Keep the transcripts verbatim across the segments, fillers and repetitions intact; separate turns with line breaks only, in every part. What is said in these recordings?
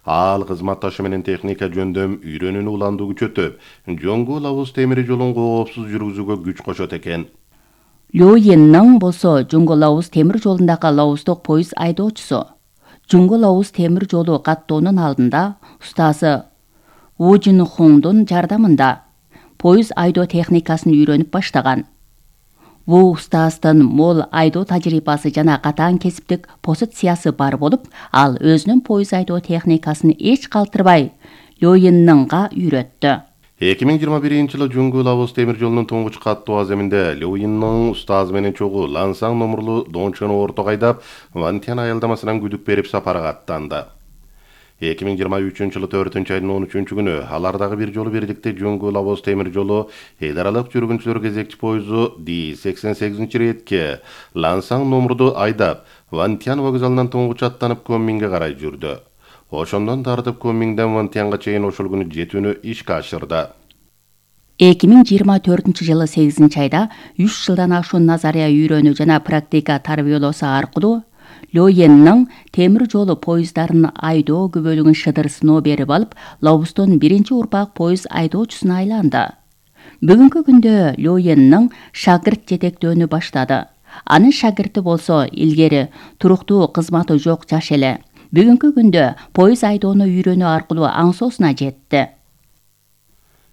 Ал кызматташы менен техника жөндөм үйрөнүүнү уландуу күчөтүп, Жоңгул Лабуз темир жолун коопсуз жүргүзүүгө күч кошот экен.
Лю Йиннин болсо Жоңгул Лабуз темир жолундагы лабуздук поезд айдоочусу. Жоңгул Лабуз темир жолу каттоонун алдында устазы Ву Жин Хуңдун жардамында поезд айдоо техникасын үйрөнүп баштаган. Бул устаздын мол айдоо тажрыйбасы жана катаң кесиптик позициясы бар болуп, ал өзүнүн поезд айдоо техникасын эч калтырбай Лю Йиннинга үйрөттү.
эки миң жыйырма биринчи жылы Жоңгул Лабуз темир жолунун туңгуч каттоо аземинде Лю Йиннин устазы менен чогуу Лансаң номурлуу Дончону ортого айдап, Вантян аялдамасынан күдүк берип сапарга аттанды. эки миң жыйырма үчүнчү жылы төртүнчү айдын он үчүнчү күнү алардагы бир жолу бирликте Жоңгул Лабуз темир жолу эл аралык жүргүнчүлөр кезекчи поезду Ди сексен сегизинчи иретке Лансаң номурду айдап, Вантян вокзалынан туңгуч аттанып Кунмиңге карай жүрдү. Ошондон тартып Кунмиңден Вантянга чейин ошол күнү жетүүнү ишке ашырды.
эки миң жыйырма төртүнчү жылы сегизинчи айда үч жылдан ашуун назария үйрөнүү жана практика тарбиялоосу аркылуу Лю Йиннин темир жолу поезддарын айдоо күбөлүгүн шыдыр сыноо берип алып, Лабуздун биринчи урпак поезд айдоочусуна айланды. Бүгүнкү күндө Лю Йиннин шагырт жетектөөнү баштады. Анын шагирти болсо илгери туруктуу кызматы жок жаш эле. Бүгүнкү күндө поезд айдоону үйрөнүү аркылуу аңсоосуна жетти.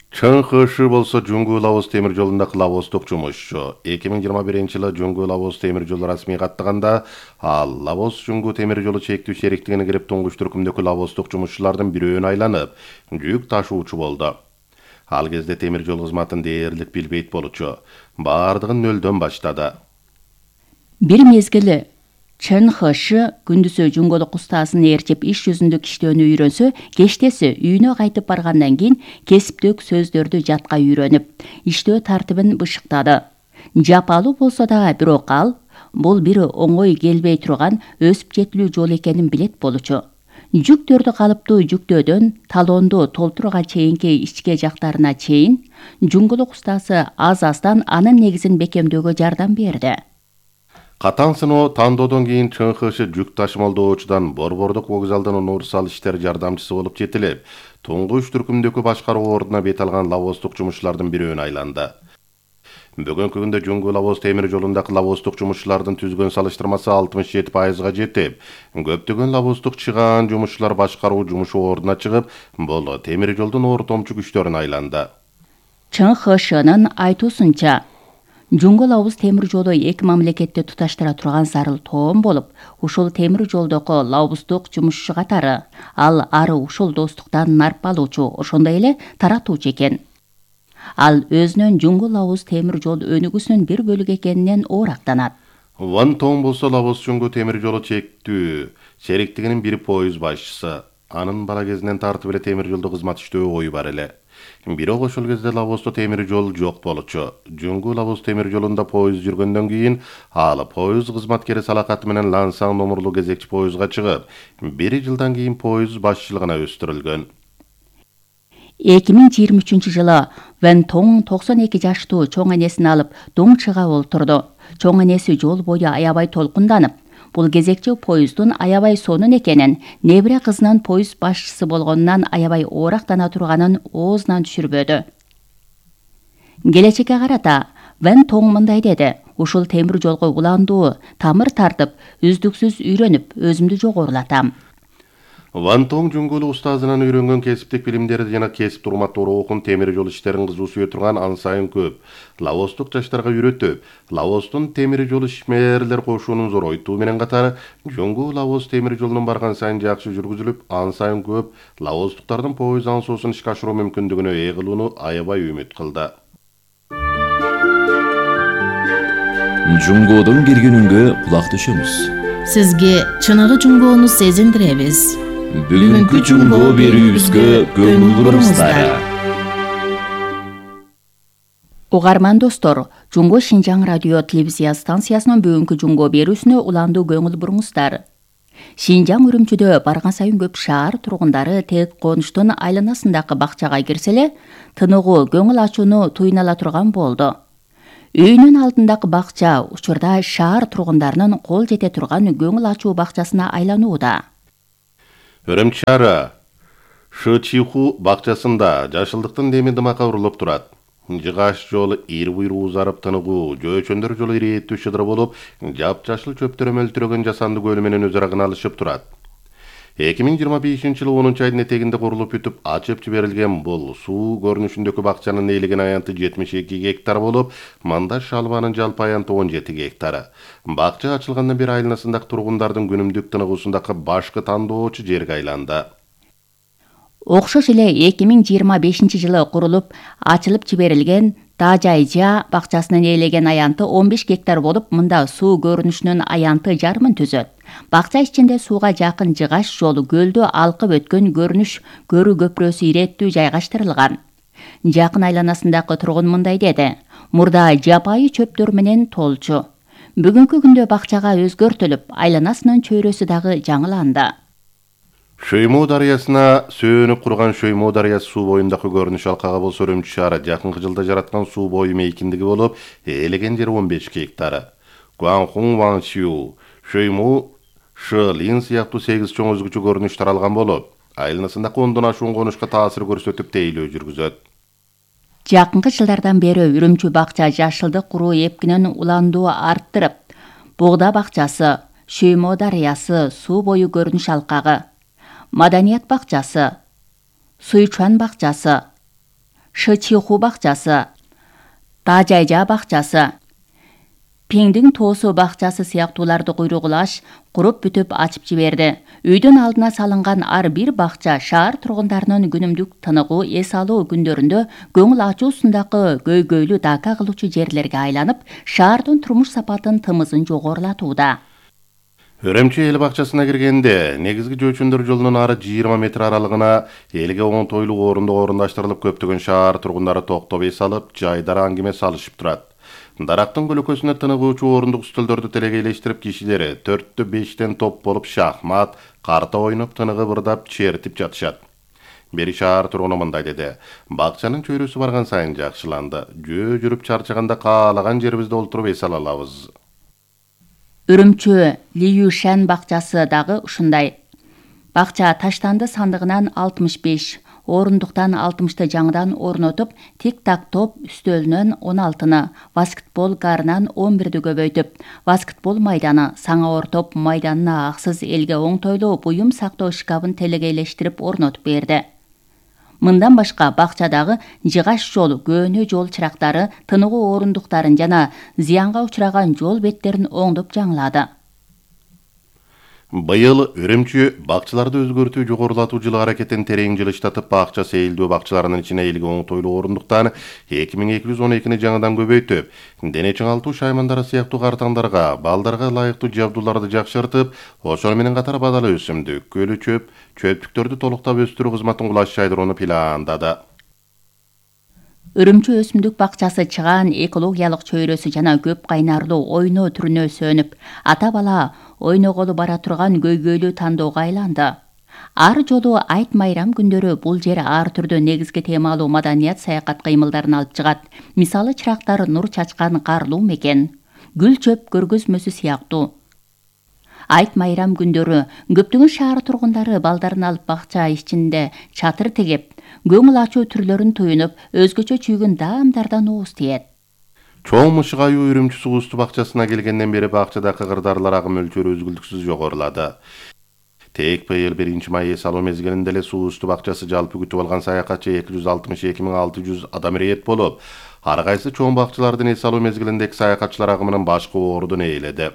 Чын Хышы болсо Жоңгул Лабуз темир жолундагы лабоздук жумушчу. эки миң жыйырма биринчи жылы Жоңгул Лабуз темир жолу расмий каттаганда, ал Лабоз Жоңгул темир жолу чектүү шериктигине кирип туңгуч түркүмдөгү лабоздук жумушчулардын бирөөнү айланып, жүк ташуучу болду. Ал кезде темир жол кызматын дээрлик билбейт болчу. Бардыгын нөлдөн баштады.
Бир мезгили Чын Хышы күндүзү жоңголук устазын ээрчип иш жүзүндө иштөөнү үйрөнсө, кештеси үйүнө кайтып баргандан кийин кесиптик сөздөрдү жатка үйрөнүп, иштөө тартибин бышыктады. Жапалуу болсо да, бирок ал бул бир оңой келбей турган өсүп жетилүү жол экенин билет болчу. Жүктөрдү калыптуу жүктөөдөн талоонду толтурууга чейинки ичке жактарына чейин жоңголук устазы аз-аздан анын негизин бекемдөөгө жардам берди.
Катаң сыноо тандоодон кийин Чын Хышы жүк ташымалдоочудан Борбордук вокзалдын универсал иштер жардамчысы болуп жетилип, туңгуч түркүмдөгү башкаруу ордуна бет алган лабоздук жумушчулардын бирөөнү айланды. Бүгүнкү күндө Жоңгул Лабуз темир жолундагы лабоздук жумушчулардын түзгөн салыштырмасы алтымыш жети пайызга жетип, көптөгөн лабоздук чыгаан жумушчулар башкаруу жумушу ордуна чыгып, бул темир жолдун ортомчу күчтөрүнө айланды.
Чын Хышынын айтуусунча, Жоңгул Лабуз темир жолу эки мамлекетти туташтыра турган зарыл тоом болуп, ушул темир жолдогу лабоздук жумушчу катары ал ары ушул достуктан нарп алуучу, ошондой эле таратуучу экен. Ал өзүнүн Жоңгул Лабуз темир жол өнүгүүсүнүн бир бөлүгү экенинен оорактанат.
Ван Тон болсо Лабоз Жоңгул темир жолу чектүү шериктигинин бир поезд башчысы. Анын бала кезинен тартып эле темир жолдо кызмат иштөө ою бар эле. Бирок ошол кезде Лабоздо темир жол жок болчу. Жоңгул Лабуз темир жолунда поезд жүргөндөн кийин ал поезд кызматкери салакаты менен Лансаң номурлуу кезекчи поездга чыгып, бир жылдан кийин поезд башчылыгына өстүрүлгөн.
эки миң жыйырма үчүнчү жылы Ван Тон токсон эки жаштуу чоң энесин алып Доңчыга олтурду. Чоң энеси жол бою аябай толкунданып, бул кезекчи поезддун аябай сонун экенин, небере кызынын поезд башчысы болгонунан аябай оорактана турганын оозунан түшүрбөдү. Келечекке карата Ван Тон мындай деди: ушул темир жолго уландуу тамыр тартып, үздүксүз үйрөнүп, өзүмдү жогорулатам.
Ван Тон Жоңгул устазынан үйрөнгөн кесиптик билимдери жана кесип урматтуу рухун темир жол иштерин кызуу сүйө турган ан сайын көп лабоздук жаштарга үйрөтүп, Лабоздун темир жол ишмерлер кошуунун зоройтуу менен катары Жоңгул Лабоз темир жолунун барган сайын жакшы жүргүзүлүп, ан сайын көп лабоздуктардын поезд аңсоосун ишке ашыруу мүмкүндүгүнө ээ кылууну аябай үмүт кылды.
Жоңгодон келгенүнгө кулак түшөмүз.
Сизге чыныгы жоңгоону сезиндиребиз.
Бүгүнкү жоңгоо берүүбүзгө көңүл буруңуздар.
Угарман достор, Жоңго Шинжаң радио телевизия станциясынын бүгүнкү жоңгоо берүүсүнө уландуу көңүл буруңуздар. Шинжаң Үрүмчүдө барган сайын көп шаар тургундары тек конуштун айланасындагы бакчага кирсе эле тыныгуу көңүл ачууну туйуна ала турган болду. Үйүнүн алдындагы бакча учурда шаар тургундарынын кол жете турган көңүл ачуу бакчасына айланууда.
Үрүмчү шаары Шычиху бакчасында жашылдыктын деми дымакка урулуп турат. Жыгаш жолу ир буйруу узарып тыныгуу, жөөчөндөр жолу ирээттүү шыдыр болуп, жапжашыл чөптөр мөлтүрөгөн жасанды көл менен өз ара алышып турат. эки миң жыйырма бешинчи жылы онунчу айдын этегинде курулуп бүтүп, ачып жиберилген бул суу көрүнүшүндөгү бакчанын ээлеген аянты жетимиш эки гектар болуп, манда шалбанын жалпы аянты он жети гектар. Бакча ачылгандан бери айланасындагы тургундардын күнүмдүк тыныгуусундагы башкы тандоочу жерге айланды.
Окшош эле эки миң жыйырма бешинчи жылы курулуп, ачылып жиберилген Дажайжа бакчасынын ээлеген аянты он беш гектар болуп, мында суу көрүнүшүнүн аянты жарымын түзөт. Бакча ичинде сууга жакын жыгаш жолу, көлдү алкып өткөн көрүнүш көрүү көпүрөсү ирээттүү жайгаштырылган. Жакын айланасындагы тургун мындай деди: мурда жапайы чөптөр менен толчу. Бүгүнкү күндө бакчага өзгөртүлүп, айланасынын чөйрөсү дагы жаңыланды.
Шөймө дарыясына сөөнүп курган Шөймө дарыясы суу боюндагы көрүнүш алкага болсо Үрүмчү шаары жакынкы жылда жараткан суу бою мейкиндиги болуп, ээлеген жери он беш гектар. Гуанхун Ваншю, Шөймө Шылин сыяктуу сегиз чоң өзгөчө көрүнүш таралган болуп, айланасындагы ондон ашуун конушка таасир көрсөтүп тейлөө жүргүзөт.
Жакынкы жылдардан бери Үрүмчү бакча жашылдык куруу эпкинен уландуу арттырып, Бугда бакчасы, Шөймө дарыясы суу бою көрүнүш алкагы, Маданият бакчасы, Суйчуан бакчасы, Шычиху бакчасы, Дажайжа бакчасы, Пиңдин тоосу бакчасы сыяктууларды куйругулаш куруп бүтүп ачып жиберди. Үйдүн алдына салынган ар бир бакча шаар тургундарынын күнүмдүк тыныгуу эс алуу күндөрүндө көңүл ачуусундагы көйгөйлүү дака кылуучу жерлерге айланып, шаардын турмуш сапатын тымызын жогорулатууда.
Үрүмчү эл бакчасына киргенде, негизги жөөчөндөр жолунун ары жыйырма метр аралыгына элге оңтойлуу орундук орундаштырылып, көптөгөн шаар тургундары токтоп эс алып, жайдара аңгеме салышып турат. Дарактын көлөкөсүнө тыныгуучу орундук стөлдөрдү телегейлештирип, кишилери төрттө бештен топ болуп шахмат, карта ойноп, тыныгып ырдап, чертип жатышат. Бери шаар тургуну мындай деди: бакчанын чөйрөсү барган сайын жакшыланды. Жөө жүрүп чарчаганда каалаган жерибизде олтуруп эс ала алабыз.
Үрүмчү Лиюшан бакчасы дагы ушундай. Бакча таштанды сандыгынан алтымыш беш, орундуктан алтымышты жаңыдан орнотуп, тик-так топ үстөлүнөн он алтыны, баскетбол гарынан он бирди көбөйтүп, баскетбол майданы, саңа ортоп майданына аксыз элге оңтойлуу буюм сактоо шкабын телегейлештирип орнотуп берди. Мындан башка бакчадагы жыгаш жолу, көөнө жол чырактары, тыныгуу орундуктарын жана зыянга учураган жол беттерин оңдоп жаңылады.
Быйыл Үрүмчү бакчаларды өзгөртүү жогорулатуу жылы аракетин терең жылыштатып, бакча сейилдөө бакчаларынын ичине элге оңтойлуу орундуктан эки миң эки жүз он экини жаңыдан көбөйтүп, дене чыңалтуу шаймандары сыяктуу картаңдарга, балдарга ылайыктуу жабдууларды жакшыртып, ошону менен катар бадала өсүмдүк, көлү чөп, чөптүктөрдү толуктап өстүрүү кызматын кулаш жайдырууну пландады.
Үрүмчү өсүмдүк бакчасы чыгаан экологиялык чөйрөсү жана көп кайнарлуу ойноо түрүнө сөнүп, ата бала ойноголу бара турган көйгөйлүү тандоого айланды. Ар жолу айт майрам күндөрү бул жер ар түрдүү негизги темалуу маданият саякат кыймылдарын алып чыгат. Мисалы чырактар нур чачкан карлуу мекен, гүл чөп көргөзмөсү сыяктуу. Айт майрам күндөрү көптөгөн шаар тургундары балдарын алып бакча ичинде чатыр тегеп, көңүл ачуу түрлөрүн туюнуп, өзгөчө чүйгүн даамдардан ооз тиет.
Чоң мышык аюу Үрүмчү суу үстү бакчасына келгенден бери бакчадагы кырдаарлар агым мөлчөрү үзгүлтүксүз жогорулады. Тек быйыл биринчи май эс алуу мезгилинде эле суу үстү бакчасы жалпы күтүп алган саякатчы эки жүз алтымыш эки миң алты жүз адам ирет болуп, ар кайсы чоң бакчалардын эс алуу мезгилиндеги саякатчылар агымынын башкы ордун ээледи.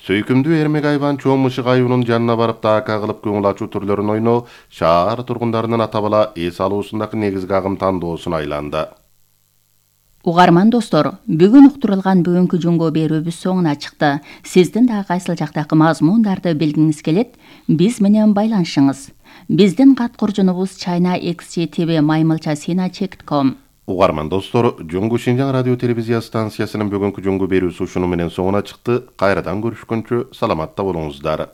Сөйкүмдүү эрмек айбан чоң мышык аюунун жанына барып дака кылып көңүл ачуу түрлөрүн ойноо шаар тургундарынын ата бала эс алуусундагы негизги агым тандоосуна айланды.
Угарман достор, бүгүн уктурулган бүгүнкү жөнгө берүүбүз соңуна чыкты. Сиздин да кайсыл жактагы мазмундарды билгиңиз келет, биз менен байланышыңыз. Биздин кат куржунубуз china x g t v маймылча sina chek ком.
Угарман достор, Жөнгө Шинжаң радио телевизия станциясынын бүгүнкү жөнгө берүүсү ушуну менен соңуна чыкты. Кайрадан көрүшкөнчө саламатта болуңуздар.